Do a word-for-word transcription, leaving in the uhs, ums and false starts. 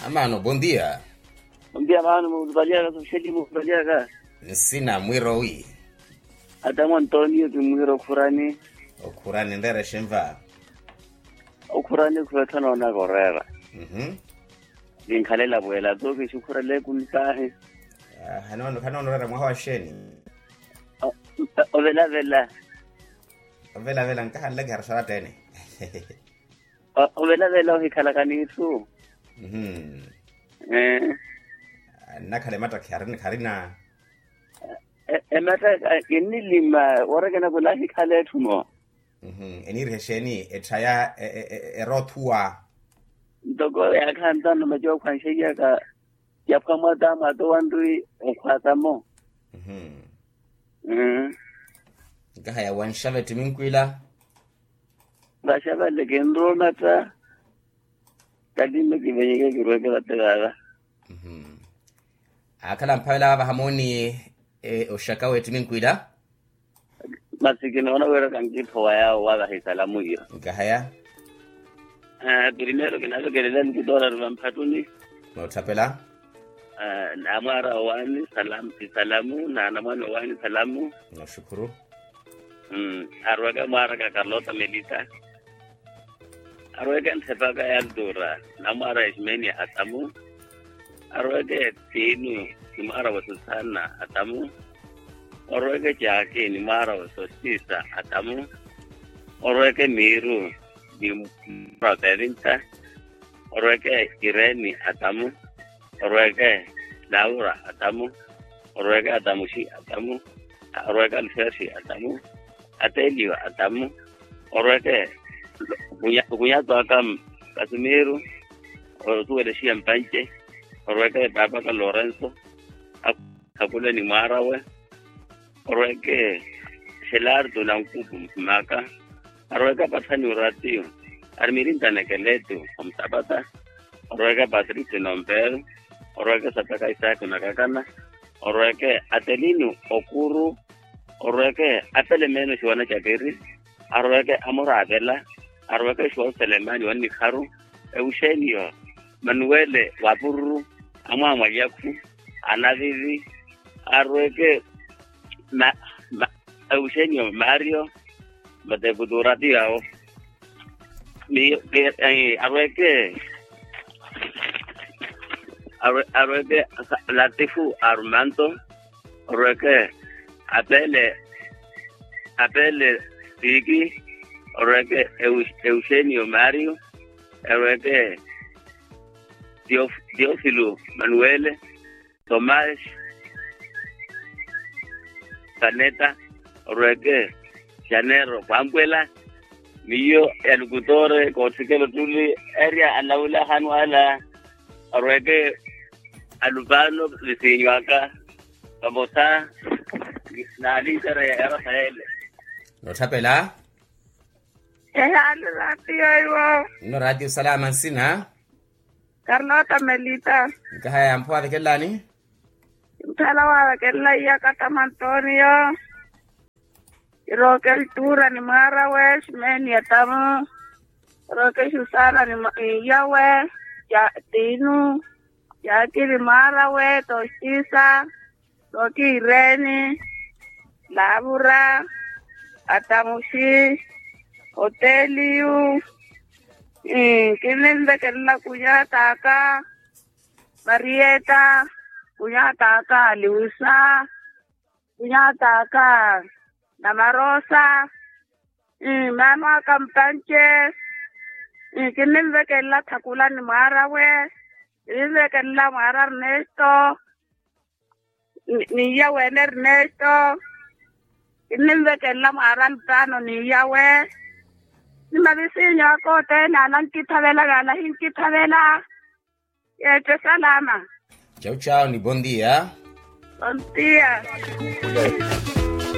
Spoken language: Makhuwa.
Maano bondia. Bondia maano muvalyaka soxeli muvalyaka. Nsina mwiro wi? Atamu antonio ti mwiro okhurani. Okhurani nreera exenva? Okhurani khweetha noonaka oreera. Ninkhalela pweela tu kixukhurele kunipaahi. Khanoona oreera mwaha wa xeeni? Ovelavela. Ovelavela nkahanleke hariswara tene. Ovelavela ohikhalaka n'itthu. Nnakhala emattakhi kharina. Emattakhi kinnilima woorekena khula ahikhala etthu mo. Eniiriha exeeni etthaya eroothuwa? Ntoko yaakhantanno maci okhwanxeiyaka yaphwa mwata mwata owanri okhwatamo. Nkahaya wanxava ettiminkwila. Vaxavale kinromatta. Katinno kivenyeke kirweke vate vava. Akhala mphavela vava hamooni oxaka w'ettiminkwila. Masi kinoona wira kankiphowa yaawo wavahi salamu iyo. Nkahaya. Primeiro kinavekelela nikutoora ri vamphattuni. Nootthaphela. Namwaara owaani salamu na anamwaani owaani salamu. Nooxukhuru. Arweke mwaaraka karlota melita. Arweke nthepaka ya altura namwaara eximeni atamu. Arweke tinu ni mwaara wa susana atamu. Orweke caki ni mwaara wa sosisa atamu. Orweke miru ni mwaara wa pevinta. Orweke ireni atamu. Orweke laura atamu. Orweke atamuxi atamu. Orweke alufeexi atamu. Ateliwa atamu. Orweke okunyatwaka kasimiru. Osuwelexiya mpanci. Orweke paapaka lorenso. Akhakule ni mwaarawe. Orweke xelarto na nkupu mphimaka. Arweke apathani oratiyo. Arimirinta nekeleto omusapata. Orweke patricio nomperu. Orweke sataka isaaku nakakana. Orweke atelino okuru. Orweke apele meeno xiwana capiri. Arweke amuraavela. Arweke xoselemani wannikharu. Euxenio manuwele wapururu. Amwamwalyakhu. Anavivi. Arweke euxenio mario. Matekutura tiyawo. Arweke arweke latifu armanto. Orweke apele apele tiki. Orweke euxenio mario. Orweke teofilo manuwele. Tomás. Kaneta. Orweke xanero kwampwela. Miyo ya lukutore koothikela ottuli. Erya anawula ahanu ala. Orweke alupano visinywaka. Vamosa na alitere ya rafaele. Nootthapela. Ehaani ratio iwo. Nno ratio salama nsina. Karnota melita. Nkahaya yampho waavekelelani. Kinthala waavekelela iya katamu antonio. Kiroke ltura ni mwaarawe ximeni atamu. Kiroke xusana ni iyawe. Tinu. Yakili mwaarawe tosisa. Roki ireni. Lavura. Atamuxi. Oteliyu. Kinninvekelela kunyataka. Marieta. Kunyataka liusa. Kunyataka namarosa. Maano aka mpanci. Kinninvekelela thakula ni mwaarawe. Kinninvekelela mwaara ernesto. Ni iya wene ernesto. Kinninvekelela mwaara lutano ni iyawe. Ni mavisinyo aka othene ala nkithavela yaala hinkithavela. Yeexe salama. Tchau tchau ni bondia. Bondia.